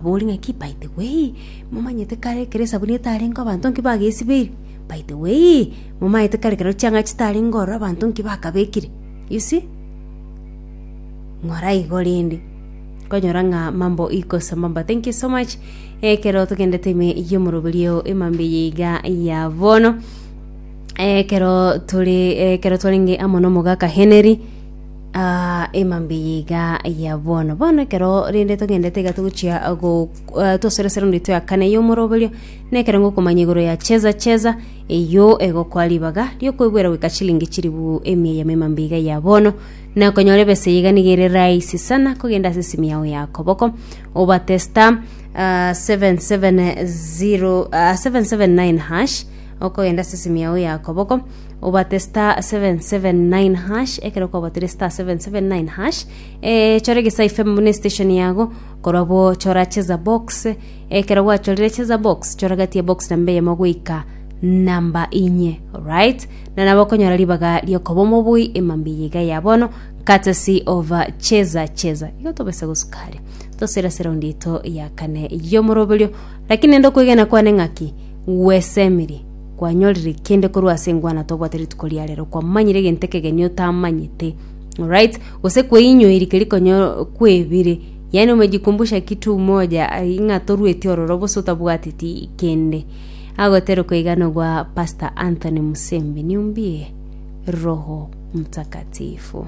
Bori ng'aki by the way, momanyete kare ekero esabuni etarenge abanto nki bagesibeire? By the way, momaete kare ekero chianga chitarenge ororo abanto nki bakabekire? You see? Ng'ora igo rende, okonyora ng'a mambo iko sambamba. Thank you so much, ekero togendete ime y'omoroberio emambia eye iga ya bono, ekero tore ekero twarenge amo na omogaka Henry. Ah, emambia eye iga ya bono. Bono ekero rende togendete iga togochia go ah, tosore ase raundi yaito ya kane y'omoroberio, na ekero ngokomanya igoro ya cheza cheza, eyio egokoa ribaga riokoigwera goika chilingi chiribu emia eyemo emambia iga ya bono, na konyora ebesa eye iga nigo ere rahisi sana kogenda ase esimi yao ya koboko, obate star ah, 770 ah, 779 hash, okogenda ase esimi yao ya koboko. Obate star 779 hash ekero kwabatire star 779 hash eh, chora egesae FM buna estation yago korwa bo chora cheza box ekero gwachorire cheza box chora gati ya box namba eyemo goika namba inye alright na nabo okonyora ribaga riokoba omobui emambia eye iga ya bono courtesy of uh, cheza cheza igo tobese gosukari tosere ase raundi yaito ya kane yomoroberio lakini nende okwegena kwane ng'aki gwesemiri Kwanyorire kende korwa ase engwana tobwate rituko ria rero, kwamanyire egento ekegeni otamanyete. Alright? Gose kweinyoiri keria konya kwebire, yaani umejikumbusha kitu moja ai ng'a torueti ororo bosa otabwateti kende. Agotera okoigana gwa Pastor Anthony Musembi, niumbie Roho Mtakatifu.